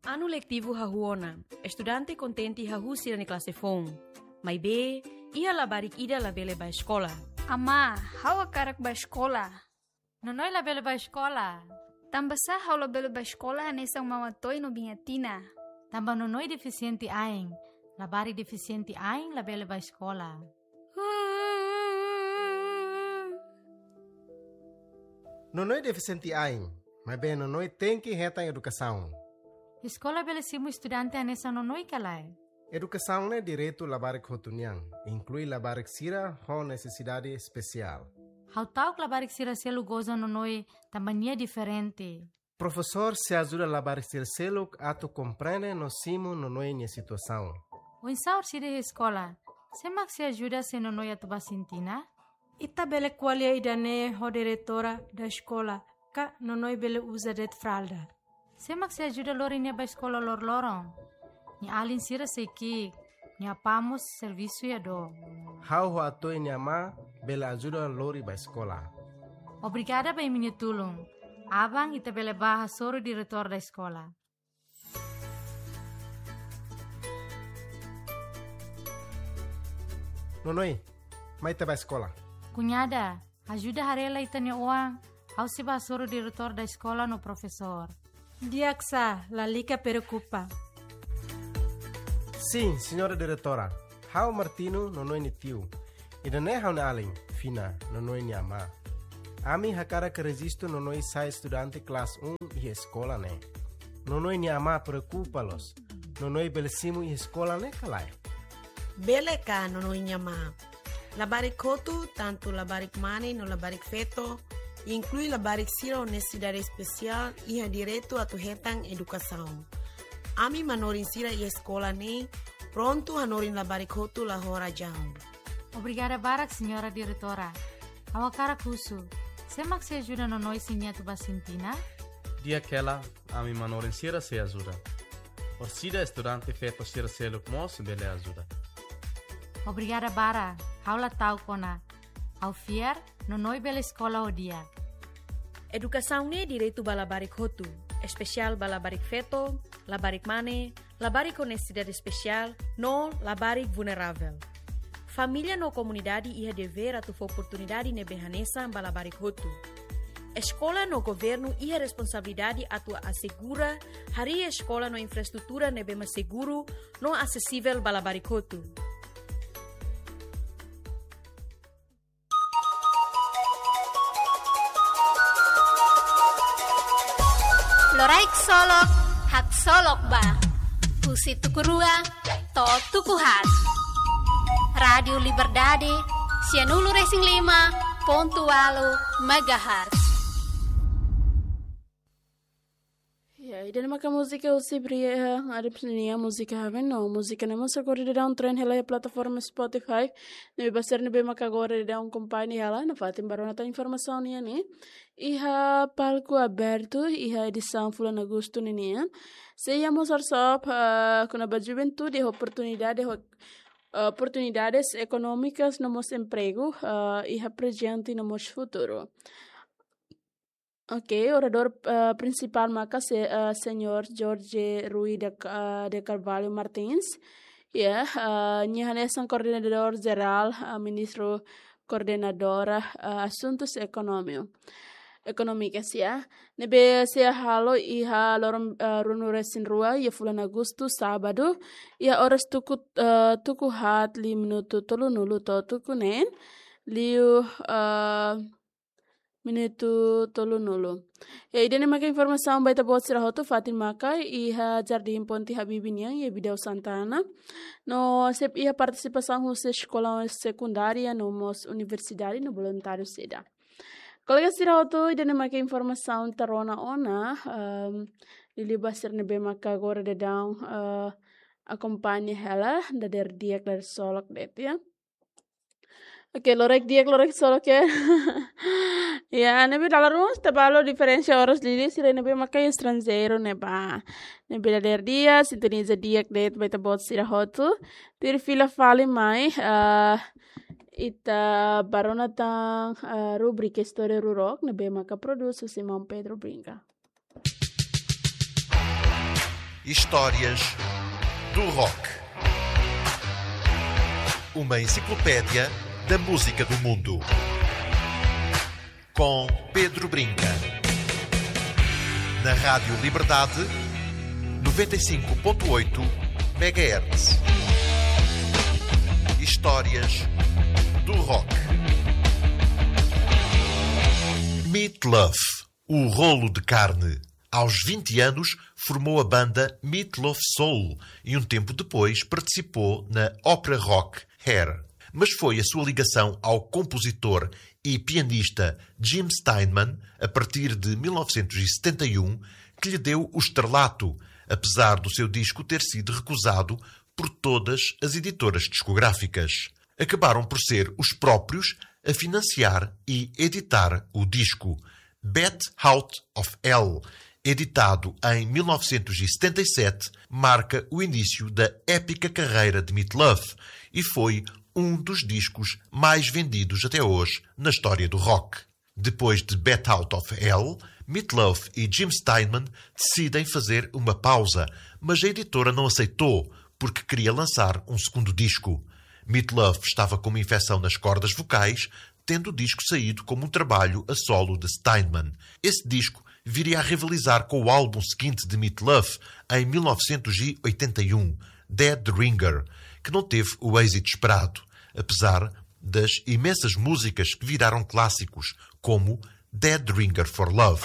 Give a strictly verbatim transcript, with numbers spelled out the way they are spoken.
Anu letivu hahú ona, estudante kontente hahú sira-nia klase foun. Maibé, iha labarik ida labele bá eskola. Amá, ha'u hakarak bá eskola. Nonoi labele bá eskola. Tanbasá ha'u labele bá eskola hanesan Mama Toy no Biña Tina? Tanba Nonoi defisiente ain. Labarik defisiente ain labele bá eskola. Nonoi defisiente ain, maibé Nonoi tenke hetan edukasaun. Eskola bele simu estudante hanesan Nonoi ka lae? Edukasaun ne'e direitu labarik hotu nian, inklui labarik sira ho nesesidade espesiál. Ha'u ta'uk labarik sira seluk goza Nonoi tanba nia diferente. Profesór sei ajuda labarik sira seluk atu komprende no simu Nonoi nia situasaun. Oinsá orsida iha eskola? Sé mak sei ajuda se Nonoi atu bá sintina? Ita bele ko'alia ida-ne'e ho diretora da eskola, ka Nonoi bele uza de'it fralda. Sé mak sei ajuda lori nia bá eskola loroloron? Nia alin sira sei ki'ik, nia apá mós servisu iha dook. Ha'u ho Atoy nia amá bele ajuda lori bá eskola. Obrigada ba imi-nia tulun. Aban ita bele bá hasoru diretór da eskola. Nonoi, mai ita bá eskola. Kuñada, ajuda haree lai ita-nia oan, ha'u sei bá hasoru diretór da eskola no profesór. Di'ak sá, lalika preokupa. Sin, señora diretora. Ha'u Martino, Nonoi nia tiu. Ida-ne'e ha'u-nia alin, Fina, Nonoi nia amá. Ami hakarak rejistu Nonoi sai estudante klase um iha eskola ne'e. Nonoi nia amá preokupa loos. Nonoi bele simu iha eskola ne'e ka lae? Bele ka, Nonoi nia amá. Labarik hotu, tantu labarik mane no labarik feto, inklui labarik sira ho nesesidade espesiál, iha direitu atu hetan edukasaun. Ami manorin sira iha eskola ne'e prontu hanorin labarik hotu la ho razaun. Obrigada barak, señora diretora. Ha'u hakarak husu, sé mak sei ajuda Nonoi se nia atu bá sintina? Di'ak hela, ami manorin sira sei ajuda. Orsida estudante feto sira seluk mós bele ajuda. Obrigada barak, ha'u la ta'uk ona. Ha'u fiar, Nonoi bele eskola ho di'ak. Edukasaun ne'e direitu ba labarik hotu, espesiál ba labarik feto, labarik mane, labarik ho nesesidade espesiál, no labarik vulneravel. Família no komunidade iha devér atu fó oportunidade ne'ebé hanesan ba labarik hotu. Eskola no governu iha responsabilidade atu asegura harii eskola no infraestrutura ne'ebé mak seguru no asesivel ba labarik hotu. Loraik solok, haksolok ba. Husi tuku rua to'o tuku haat. Rádiu Liberdade, sianulu resin lima pontu ualu megahertz. Ya, ida-ne'e maka múzika husi Brian Adams nia múzika Haven no. Múzika ne'e mós rekorre daudaun trend hela iha plataforma Spotify. Ne'ebé ba sira ne'ebé maka agora daudaun akompaña hela, nafatin bá rona tan informasaun nian ne'e. Iha palku abertu, iha edisaun fulan Agostu ninian. Sei iha mós workshop, ah, kona-ba juventude, oportunidade, ho, ah, oportunidades ekonómikas no mós empregu, ah, iha prezente no mós futuru. Ok, oradór, ah, prinsipál maka se-, ah, señór Jorge Rui de Ca-, ah, de Carvalho Martins. Ya, ah, nia hanesan koordenadór jerál, ah, ministru koordenadora, ah, asuntus ekonomia, ekonómikas, ya. Ne'ebé sei halo iha loron, ah, ruanulu resin rua, iha fulan Agostu, sábadu, iha oras tuku, ah, tuku haat liu minutu tolunulu to'o tuku neen, liu, ah, minutu tolunulu. Ya, ida-ne'e maka informasaun ba ita-boot sira hotu, fatin maka iha Jardín Ponte Habibie nian, iha Bidau Santana. No sei iha partisipasaun husi eskola sekundária no mós universidade no voluntáriu sira. Kolega sira hotu, ida-ne'e maka informasaun ita rona ona, ehm, liuliu ba sira ne'ebé maka agora daudaun, eh, akompaña hela, dadeer di'ak, dadeer solok de'it, ya. Ok, loraik di'ak, loraik solok, ya. Ya, ne'ebé dala ruma ita bá halo diferensa oras liuliu sira ne'ebé maka estranjeiru ne'ebá. Ne'ebé dadeer di'ak, sintoniza di'ak de'it ba ita-boot sira hotu. Tuir fila fali mai, ah, ita bá rona tan, ah, rubrika Istória Rurok, ne'ebé maka prodús husi maun Pedro Brinca. Histórias do Rock. Uma enciclopédia da música do mundo. Com Pedro Brinca. Na Rádio Liberdade, noventa e cinco ponto oito megahertz. Histórias do Rock. Meat Loaf, o rolo de carne. Aos vinte anos, formou a banda Meat Loaf Soul e um tempo depois participou na ópera rock Hair. Mas foi a sua ligação ao compositor e pianista Jim Steinman, a partir de mil novecentos e setenta e um, que lhe deu o estrelato, apesar do seu disco ter sido recusado por todas as editoras discográficas. Acabaram por ser os próprios a financiar e editar o disco. Bat Out of Hell, editado em mil novecentos e setenta e sete, marca o início da épica carreira de Meat Loaf e foi um dos discos mais vendidos até hoje na história do rock. Depois de Bat Out of Hell, Meat Loaf e Jim Steinman decidem fazer uma pausa, mas a editora não aceitou porque queria lançar um segundo disco. Meat Loaf estava com uma infecção nas cordas vocais, tendo o disco saído como um trabalho a solo de Steinman. Esse disco viria a rivalizar com o álbum seguinte de Meat Loaf, em mil novecentos e oitenta e um, Dead Ringer, que não teve o êxito esperado, apesar das imensas músicas que viraram clássicos, como Dead Ringer for Love.